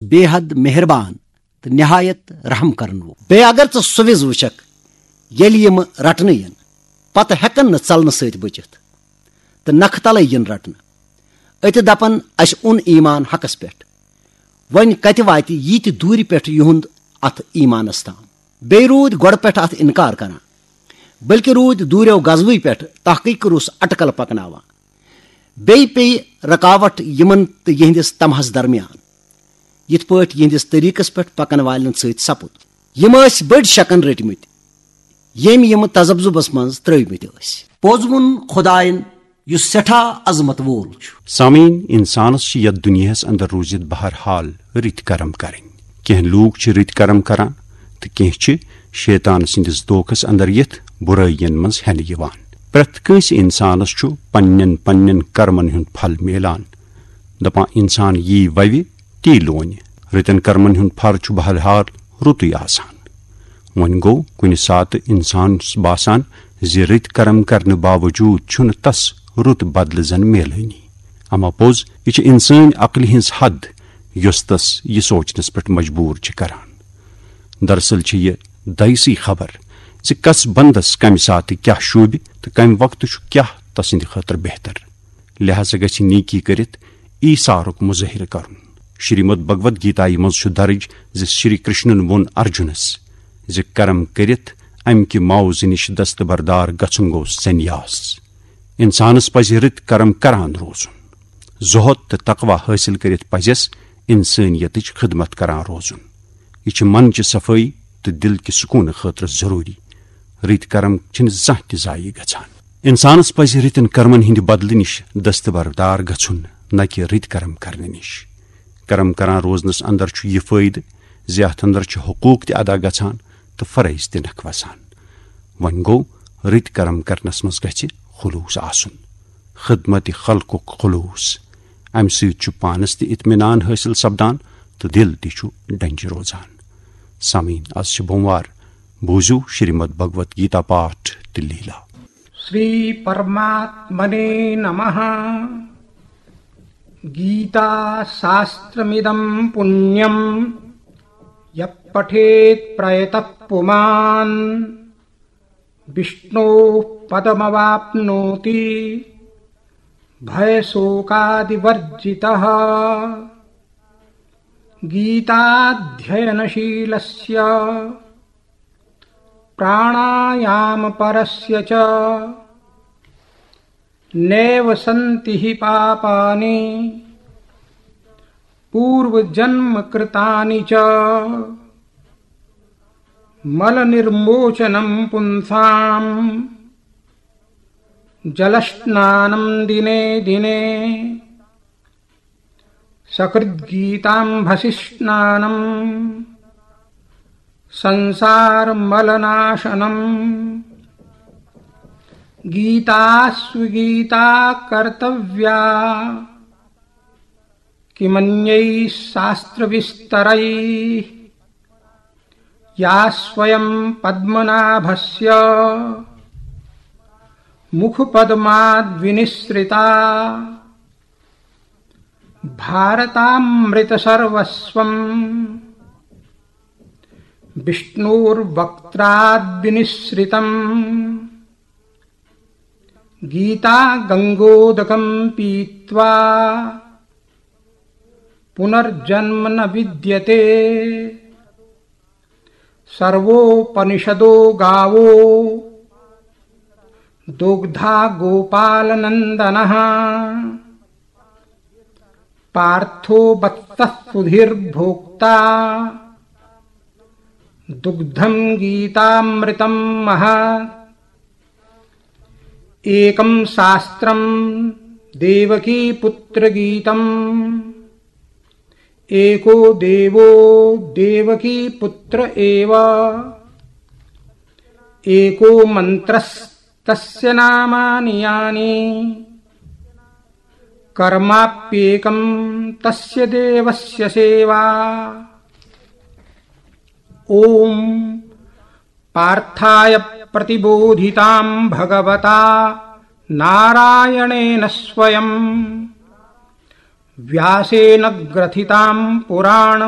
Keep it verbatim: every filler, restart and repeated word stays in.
بے حد مہربان تہٕ نہایت رحم کرن وول۔ بیٚیہِ اگر ژٕ سُہ وِز وٕچھکھ ییٚلہِ یِم رٹنہٕ یِن، پتہٕ ہٮ۪کن نہٕ ژلنہٕ سۭتۍ بٔچِتھ تہٕ نکھٕ تلے یِن رٹنہٕ۔ أتہِ دپن، اسہِ اوٚن ایمان حقس پٮ۪ٹھ۔ وۄنۍ کتہِ واتہِ ییٖتہِ دوٗرِ پٮ۪ٹھ یِہُنٛد اتھ ایمانس تام؟ بیٚیہِ روٗدۍ گۄڈٕ پٮ۪ٹھ اتھ انکار کران، بلکہِ روٗدۍ دوٗریو غزوٕے پٮ۪ٹھ تحقیق روٚس اٹکل پکناوان۔ بیٚیہِ پیٚیہِ رکاوٹ یِمن تہٕ یِہنٛدِس طمعس درمیان، یِتھ پٲٹھۍ یِہنٛدِس طریٖقس پٮ۪ٹھ پکن والٮ۪ن سۭتۍ سپُد۔ یِم ٲسۍ بٔڑۍ شکن رٔٹۍ مٕتۍ، ییٚمۍ یِم تذبذبس منٛز ترٲوۍ مٕتۍ ٲسۍ۔ پوٚز ووٚن خۄداین، یُس سٮ۪ٹھاہ عظمت وول چھُ۔ سامعیٖن، انسانس چھِ یتھ دُنیاہس اندر روٗزِتھ بہرحال رٕتۍ کرم کرٕنۍ۔ کینٛہہ لوٗکھ چھِ رٕتۍ کرم کران تہٕ کینٛہہ چھِ شیطان سٕنٛدِس دھوکس اندر یِتھ بُرٲیین منٛز ہٮ۪نہٕ یِوان۔ پرٛٮ۪تھ کٲنٛسہِ انسانس چھُ پننٮ۪ن پننٮ۪ن کرمن ہُنٛد پھل میلان۔ دپان، انسان یی ووِ، تی لونہِ۔ رٕتٮ۪ن کرمن ہُنٛد پھل چھُ بہرحال رُتُے آسان۔ وۄنۍ گوٚو، کُنہِ ساتہٕ انسانس باسان زِ رٕتۍ کرم کرنہٕ باوجوٗد چھُنہٕ تس رُت بدلہٕ زن میلٲنی۔ اما پوٚز، یہِ چھِ انسٲنۍ عقلہِ ہٕنٛز حد، یۄس تس یہِ سونچنس پٮ۪ٹھ مجبوٗر چھِ کران۔ دراصل چھِ یہِ دایسی خبر زِ کس بندس کمہِ ساتہٕ کیاہ شوٗبہِ تہٕ کمہِ وقتہٕ چھُ کیاہ تسٕنٛدِ خٲطرٕ بہتر۔ لہذا گژھِ نیکی کٔرِتھ ایثارُک مظٲہرٕ کرُن۔ شریمد بھگوت گیتایہِ منٛز چھُ درج زِ شری کرشنن ووٚن ارجُنس زِ کرم کٔرِتھ امہِ کہِ معاوضہٕ نِش دستبردار گژھُن گوٚو سنیاس۔ انسانس پزِ رٕتۍ کرم کران روزُن۔ زہد تہٕ تقوی حٲصِل کٔرِتھ پزٮ۪س انسٲنیتٕچ خدمت کران روزُن۔ یہِ چھِ من چہِ صفٲیی تہٕ دل کہِ سکوٗنہٕ خٲطرٕ ضروٗری۔ رٕتۍ کرم چھِنہٕ زانٛہہ تہِ ضایع گژھان۔ انسانس پزِ رٕتٮ۪ن کرمن ہٕنٛدِ بدلہٕ نِش دستبردار گژھُن، نہ کہِ رٕتۍ کرم کرنہٕ نِش۔ کرم کران روزنس اندر چھُ یہِ فٲیدٕ زِ اتھ اندر چھِ حقوٗق تہِ ادا گژھان تہٕ فرٲیض تہِ نکھٕ وسان۔ وۄنۍ گوٚو، رٕتۍ کرم کرنس منٛز گژھِ خلوص آسُن، خدمت خلقُک خلوص۔ امہِ سۭتۍ چھُ پانس تہِ اطمینان حٲصِل سپدان تہٕ دل تہِ چھُ ڈنجہِ روزان۔ سامعیٖن، از چھِ بوموار، بوٗزِو شریمد بھگوت گیتا پاٹھ تہٕ لیٖلا۔ श्री परमात्मने नमः। गीताशास्त्रमिदं पुण्यं यः पठेत् प्रयतः पुमान्। विष्णोः पदमवाप्नोति भयशोकादिवर्जितः। गीताध्ययनशीलस्य प्राणायामपरस्य च नैव सन्ति हि पापानि पूर्वजन्मकृतानि च। मलनिर्मोचनं पुंसां जलस्नानं दिने दिने। सकृद्गीताम्भसिस्नानं संसारमलनाशनम्। गीता स्वगीता कर्तव्या किमन्यैः शास्त्रविस्तरैः। या स्वयं पद्मनाभस्य मुखपद्माद्विनिःसृता। भारतामृतसर्वस्वं विष्णोर्वक्त्राद्विनिःसृतम्। गीता गङ्गोदकं पीत्वा पुनर्जन्म न विद्यते। सर्वोपनिषदो गावो दुग्धा गोपालनन्दनः। पार्थो वत्सः सुधीर्भोक्ता दुग्धं गीतामृतं महत्। एकं शास्त्रं देवकीपुत्रगीतम्। एको देवो देवकीपुत्र एव। एको मन्त्रस्तस्य नामानि यानि। कर्माप्येकं तस्य देवस्य सेवा। ॐ पार्थाय प्रतिबोधितां भगवता नारायणेन स्वयम्। व्यासेन ग्रथितां पुराणं